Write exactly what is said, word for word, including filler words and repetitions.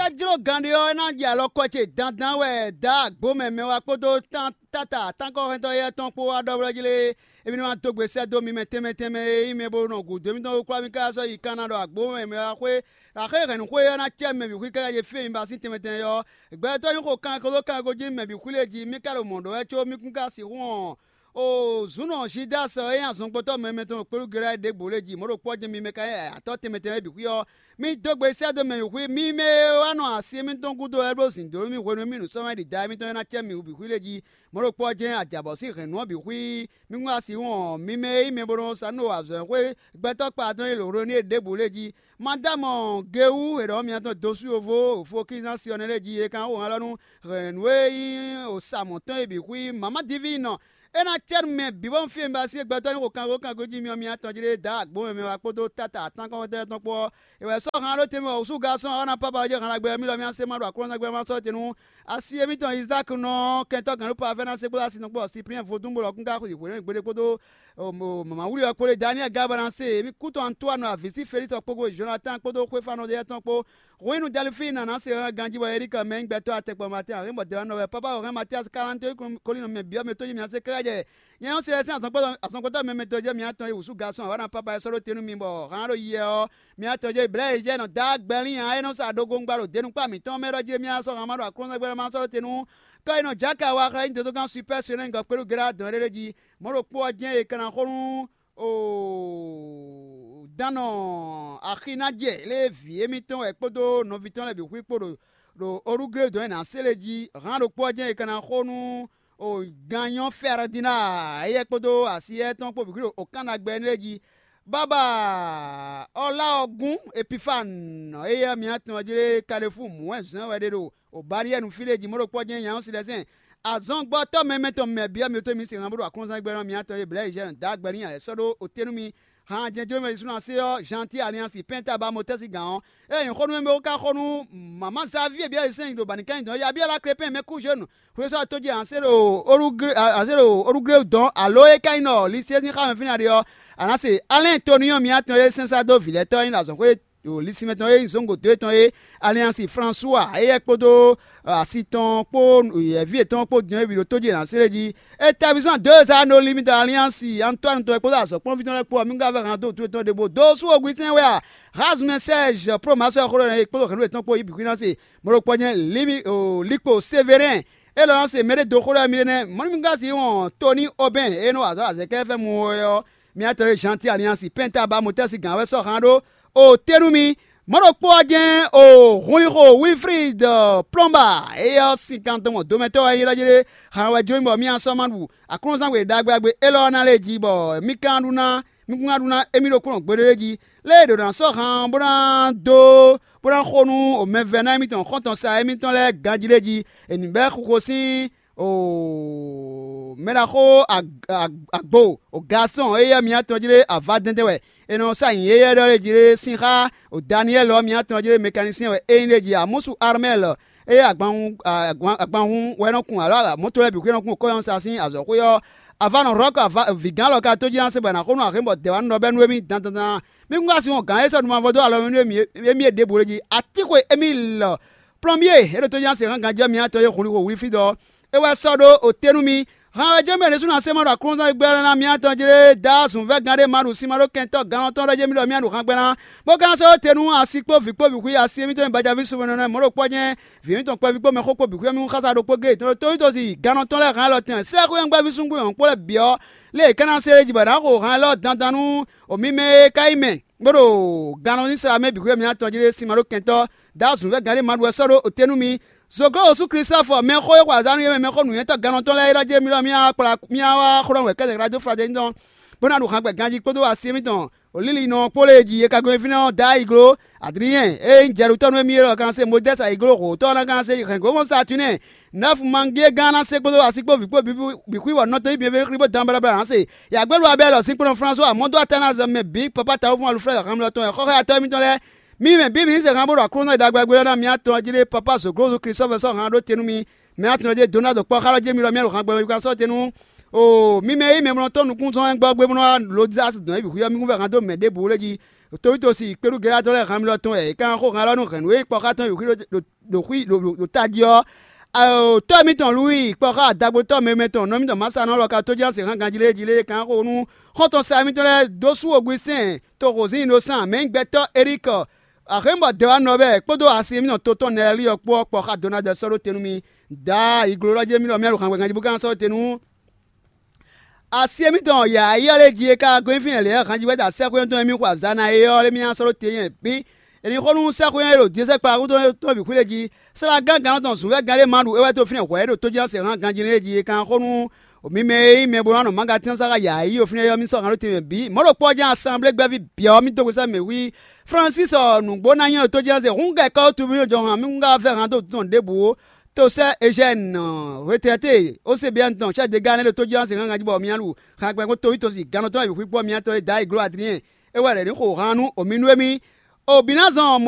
É jló gǎnɖé ɔ́, é ná jɛ alɔ kɔ ce dandan wɛ dǎ agbo mɛ mɛ wá kpódó táta tánkɔ́hɛntɔ́ éyɛ́ tɔn kpó wá ɖɔ blɔ́ jí lé. Émí ní wá dó gbe sɛ́ dó mi mɛ tɛnmɛ tɛnmɛ e nyí mɛ bó nɔ gǔdo émítɔn wú kwlá mì káká sɔ́ yi kanna ɖɔ agbo mɛ mɛ wá xwé axé hɛ̌nnu xwé ɔ́ ná cɛ mɛ bǐ xwí káká ce fí e mi ba sín tɛnmɛ tɛnmɛ ɔ́. Gbɛtɔ́ ní xo kanko dó kanko jí mɛ bǐ xwí lě jí mì ka ɖo mɔ̌ ɖɔ wɛ có mì kún ka sixú hɔn. O zǔn nɔ Zidasi ɔ́ e nyí azɔngbɔtɔ́ mɛmɛ tɔn ɖo kpéɖú Gɛlɛ́ ɖěbǔ lě jí mɔ̌ ɖokpó ɔ́ jɛ́n mi mɛ ka nyí atɔ́ tɛnmɛ tɛnmɛ bǐ xwí ɔ́, mì dó gbe sɛ́ dó mɛ wǐ xwí mi mɛ e wá nɔ asi émítɔn gúdo wɛ bó zǐn dó nú mì hwenu e mì nǔ sɔ́ mɛ ɖi da émítɔn e ná cɛ mì wú bǐ xwí lě jí. Mɔ̌ ɖokpó ɔ́ jɛ́n ajǎbɔ̌ sín hɛ̌nnu ɔ́ bǐ xwí. Mì kún asi wɔn mi mɛ e nyí mɛ bo nɔ sa nú azɔ̌xwé gbɛtɔ́ kpa tɔn e lǒ hwenu e ɖěbǔ lě jí. Madámɔ Gewú e ɖɔ mǐtɔn dó sú yovo fokízán Siɔnɛ lɛ́ɛ jí é kan xo hɛn lɔ nú hɛ̌nnu e nyí osa mɔ̌ tɔn é bǐ xwí mama diví nɔ. É ná cɛ́ nú mɛ bǐ bɔ un fí e un ba sí gbɛtɔ́ ní xo kango kango jí myɔ mǐtɔn jí ɖé dǎ agbǒ mɛ mɛ wá kpódó táta atán kɔ́xɔ́tɔ́ tɔn kpó ɔ́. È wɛ sɔ́ han ɖó tɛnmɛ wɔ wǔsú Galsɔ́n ɔ́ ná pápá ɔ́ jɛ han ɖagbe ɔ́ mì lɔ mì ná se ma ɖo aklúnɔzángbe ɔ́ má sɔ́ te nú asi émítɔn Izáki nɔ kɛntɔ́ gǎn ɖó Pavɛ́ ná se kpódó asi tɔn kpó ɔ Siplíɛn vodún bó lɔ kún ka xweyǐ hwelɛ́ngbéɖé kpódó mama wúli ɔ́ kpó ɖé Daniɛ́li Gabanase, émí kútɔn Antoine avǐ sí Felísi ɔ́ kpódó Jonatán kpódó xwéfánɔ éyɛ́ tɔn kpó. Hwenu Delfín ná se hɛn ganjí bɔ Erika mɛ nyí gbɛtɔ́ atɛkpɔ Matín Ahlǐnbɔdɛ́wánɔ wɛ Pápá Orhɛ́n Matíasi Kalanto kɔnlínnɔ mɛ bǐ ɔ́ mɛ tó jí mǐ ná se káká jɛ. Nyɛ ɔ́, Silɛsɛ́n azɔngbɔ́tɔ́ mɛmɛtɔn jɛ́ mǐtɔn e wǔsú Gasɔn Awana Pápá e sɔ́ ɖó te nú mi bɔ hǎn ɖo yɛ ɔ́, mǐtɔn jɛ Blɛ̌ e jɛ nɔ dó agbɛ́lín ǎ é nɔ sa ɖogo un gba ɖo denukpá mǐtɔn mɛ ɖɔ jí émí ná sɔ́ hǎn ma ɖo aklúnɔgbɛ́ ma sɔ́ ɖó te nú kɔ́ e nɔ jǎ ka wa xá nyí dodógán Supɛ́ Sɛnɛ́ gɔ́ kpéɖu Gelá dɔn éɖée jí. Mɔ̌ ɖokpó ɔ́ jɛ́n è ka ná xo nú o dán nɔ axi ná jɛ lě e vǐ émítɔn wɛ kpódó nɔví tɔn lɛ́ɛ bǐ xwí kpo ɖo ɖo orúglé dɔn e nǎ se lé jí. Hǎn ɖokpó ɔ́ jɛ́n è ka ná xo nú o ganyɔ́ Fɛrdina éyɛ́ kpódó asiyɛ́ tɔn kpó bǐ xwí ɖo okánnagbɛ énɛ́ lɛ́ɛ jí. Bábà ɔ́ lá ɔ́ gún Epifánu éyɛ́ mǐtɔn jí lé Kalefú mǔhwɛ́nzɛ́n wɛ ɖe ɖo o Baliyɛ́nu fí ɖé jí mɔ̌ ɖokpó ɔ́ jɛ́n nya ɔ́ si lɛ́ zɛn. Azɔngbɔtɔ́ mɛmɛ tɔn mɛ byɔ́ mi tó mi se han bó ɖo aklúnzán gbɛ́ nɔ mǐtɔn e Blɛ̌ Ezhɛ́nu dó agbɛ́lín ǎ sɔ́ ɖó o tɛ́ nú mi. Han jɛjló mɛ ɖisúnɔ se ɔ́, Janti Aliansi Pɛ́nta ba Motɛ́si gǎn ɔ́, é nyǐ xó nú mɛ bó ka xo nú mama Zavíe byɔ́ Yisɛ́n ɖo bǎnikányi dɔn Yabyɔ́la Krepɛ́n mɛ kú zhenu. Xwésɔ́ tójí ǎ se ɖo orúglé ǎ se ɖo orúglé dɔn alo é ka nyí nɔ lisí e sín xá mɛ fínɛ́ ɖe ɔ́, a nǎ se Alɛ́n Toniyɔ́ɔ mǐtɔn e sɛ́n sá dó vǐ lɛ́ɛ tɔn é nyí azɔ̌xwé ɖo lisí mɛ tɔn e nyí zǒngo dó tɔn é, Aliansi Fransua éyɛ́ kpódó asi tɔn kpó yɛ̌ví yětɔn kpó din é bǐ ɖo tójí è nǎ slé jí. Établisman dó e zá nɔ limí dɔ Aliansi Antoine tɔn e kpódó azɔ̌kplɔ́nví tɔn lɛ́ɛ kpó ɔ́, mǐ ka vɛ́ han dó wǔtu yětɔn ɖěbǔ dó sú oguisɛn wɛ a? Hazmɛ Sɛ́ɛzh Promasɔ xó ɖɔ è kpódó hɛ̌nnu yětɔn kpó yí bǐ xwíná se. Mɔ̌ ɖokpó jɛ́n Limi Likpo Severin. É lɔ nɔ se mɛɖé dó xó ɖɔ mì ɖé nɛ́. Mɔ̌ nú mǐ ka si wɔn Toni Obɛn e nɔ wa azɔ̌ azɛ̌kɛ́fɛ́mu ɔ́, mǐtɔn e Janti Aliansi Pɛ́nta ba Motɛ́si gǎn wɛ sɔ́ han ɖó o tɛ́ nú mi. Mɔ̌ ɖokpó ɔ́ jɛ́n o hunlixo Wilfrid Plɔ́nba, éyɛ́ ɔ́, sin kan dɔn mɔ domɛtɔ́ wɛ é ylɔ́ jí ɖé. Han wɛ jló mì bɔ mì sɔ́ ma ɖu aklúnɔzán gbe ɖagbe ɖagbe élɔ́ ɔ́ ná lɛ́ɛ jí, bɔ mì ka ná ɖu ná mì kún ná ɖu ná émí ɖokpónɔ gbeɖé jí. Lě e è ɖǒ ná sɔ́ han ɔ́ bó ná dó bó ná xo nú mɛvɛ́ná émítɔn xɔ́ntɔn sa émítɔn lɛ́ɛ ganjí ɖé jí. È nǐ bɛ́ xuxo sín o mɛ ɖaxó agbo o Gasɔn éyɛ́ mǐtɔn jí ɖé avadɛndɛn wɛ. È nɔ sa nyǐ éyɛ́ ɖɔ lé jí ɖé sín xá o Daniyɛ́li ɔ́ mǐtɔn jí ɖé mɛkanisɛn wɛ é nyí ɖé jí. Amúsu Armɛ́l éyɛ́ agbanhun agbanhun wɛ nɔ kun alo mɔ̌to lɛ́ɛ bǐ xwé nɔ kun kɔ́yɔ́nsa sín azɔ̌xwé ɔ́, Avanɔ Rɔ́k vǐgán lɔ ka tó jí ná se bɔ è nǎ xo nú axě bɔ dɛ̌ wá nɔ ɖɔ bɛ́ nú émí dandan. Mì kún ka sin wɔn gǎn e sɔ́ nǔ mavɔ dó alɔ mɛ nú émí e ɖěbǔ é jí. Atíxwe émí lɔ plɔ́nbyé é ɖo tó nya se hán ganjɛ́ mǐtɔn e hunlixo Wilflídɔ ɔ́, é wɛ sɔ́ ɖó o te nú mi. Han wɛ jɛ́n mɛ ɖésú ná se ma ɖo aklúnɔzán e gbɛ́ lɛ́ɛ ná mǐtɔn jlé dá zunvɛ́gán ɖé ma ɖo sin ma ɖó kɛntɔ́ gannɔ tɔn lɛ́ɛ jɛ́n mì ɖɔ mǐ ɖo han gbɛ́ ná, bó ka ná sɔ́ ɖó te nú asi kpó vǐ kpó bǐ xwí asi émítɔn e bajaví sumɔnɔ mɔ̌ ɖokpó ɔ́ jɛ́n vǐ émítɔn kpɛví kpó mɛxó kpó bǐ xwí mì xásá ɖokpó géé tɔn ɖo tóyítozi gannɔ tɔn lɛ́ɛ han élɔ́ tɛn sɛ́xwé ɔ́ gbɛ́ví súngbó nyɔ̌nu kpó lɛ́ɛ bǐ ɔ́, lě e é ka ná se é jí bɔ è nǎ xo han élɔ́ dandan nú o mì mɛ e ka nyí mɛ bó ɖo gannɔ ní sla mɛ bǐ xwé mǐtɔn jí ɖé sin ma ɖó kɛntɔ́ dó azǔn vɛ́ gǎn ɖé ma ɖu wɛ sɔ́ ɖó te nú mi. Zogló Osu Klistɔ́fɔ, mɛxó e xo azǎn nú yě mɛ mɛxó nǔnywɛ́tɔ́ gannɔ tɔn lɛ́ɛ é ɖɔ jí mì ɖɔ mì wá kplá mì wá xó ɖɔ nǔ wɛ kɛ́ɖɛ́ dó Fladɛ́ni tɔn, bó ná ɖu han gbɛ ganjí kpódó asi émítɔn o lílinɔ kpó lě e jí è ka gɔn fínɛ́ ɔ́ dó ayǐgló. Adriyɛn e nyí jɛɖutɔ́ nú émí é ɖɔ kan se Modɛ́si ayǐgló hǒtɔ́ ɔ́ ná kan se hɛ̌nglómɔ Satunɛ́ɛ Nɛ́fu mangíé gán ná se kpódó asi kpó vǐ kpó bǐ xwí bɔ nɔ tɔn yí bǐ bǐ bó dan baɖabaɖa ná se. Yǎgbélú Abɛ́lɔ sín kplɔ́n Flánsuwa mɔ̌ dó atánazɔ mɛ bǐ papá tawúfɔ́n Aluflɛ́d hanmlɔ tɔn wɛ xɔ́xɔ́yatɔ́ émítɔn lɛ́ɛ. Mì mɛ bǐ mǐ se han bó ɖo aklúnɔ e ɖagbe ɖagbe lɛ́ɛ ná mì atɔn jí ɖé papá zǒglózu Klistɔ́fɔ sɔ́ han ɖó te nú mi. Mɛ atɔn ɖé dó ná ɖo kpɔ́ xá lɔ jí mi ɖɔ mì ɖo han gbɛmɛ yíkúná sɔ́ te nú. O mi mɛ e nyí mɛmlɔtɔ́ nukúnzɔ́n gbɔ́gbé bó nɔ́ wá Lodizasi dɔn é bǐ xwí ɔ́, mi kún vɛ́ han dó mɛ ɖěbǔ lé jí. Towítosi kpéɖúgelátɔ́ lɛ́ɛ han mì ɖɔ tɔn wɛ è ka nɔ xo han élɔ́ nú hɛ̌nnu e kpɔ́ xá tɔn yi xwí ɖo tají ɔ́. Tɔ́ mitɔn Lúwi kpɔ́ xá adagbotɔ́ mɛmɛ tɔn nɔ mitɔn Masanɔ lɔ ka tójínásɛ́n hán ganjí lé jí lé e ka nɔ xo nú xɔ́ntɔn sa mitɔn lɛ́ɛ dó sú Ogwisɛ́n to Hozíin ɖo sán mɛ̌gbɛ́tɔ́ Elíkɔ, Axémubɔ dɛwanɔ lɛ́ɛ kpódó asi mitɔn to tɔn Nɛɛlíɔ kpó ɔ́ kpɔ́ xá Donald sɔ́ ɖó te nú mì. Daa yi gló ɖɔ jí émí ɖɔ mì ɖo hǎngbɛ́ ganjí bó ka nɔ sɔ́ ɖó te nú Asi émítɔn yǎyá lɛ́ɛ jí e ka gɔ́ nyi fínɛ́ lě ɔ́, hanjivɛ́da sɛ́xwé ɔ́ tɔn e mì xo azǎn ná é ɔ́, émí ná sɔ́ ɖó te nyɛ bǐ. È nǐ xo nú sɛ́xwé ɔ́ e ɖo Diyɔ́sɛ́kpla xútɔ́ tɔn bǐ xwíɖé jí. Slágán gannɔ tɔn zǔnvɛ́gán ɖé ma ɖu é wɛ tó fínɛ́ hwɛ̌ ɖo tójínásɛ́n hán ganjí lɛ́ɛ jí e kan xo nú mi mɛ e nyí mɛ bó ná nɔ mǎgatínɔ́ sa xá yǎyí ɔ́ fínɛ́ ɔ́, mì sɔ́ hǎn ɖó tɛnmɛ bǐ. Mɔ̌ ɖokpó ɔ́ jɛ́n asanblé gbɛ́ví byɔ̌ mì dó gbesá mɛ wí. Flɔ́nsísi ɔ, nǔgbó ná nyɔ́ ɖo tójínásɛ́n hǔn gɛ́ kɔ́ wútu mì jɔ hǎn mì hún ká vɛ́ hǎn dó tɔn ɖěbǔ ó. Tosɛ́ Ezyɛ́ni, retlɛ́te Osebiɛ́ni tɔn, chɛ́ degá nɛ́ ɖo tójínɔ́ sin hángan jí bɔ mì ná ɖu hɛngbɛ́ kpó towítɔ́ sin gannɔtɔ́ e bǐ xwíkpɔ́ mì tɔn e Dayi gló Adliɛ́n é wɛ lɛ̌ ní xo han nú omi nú émí. Obinazɔn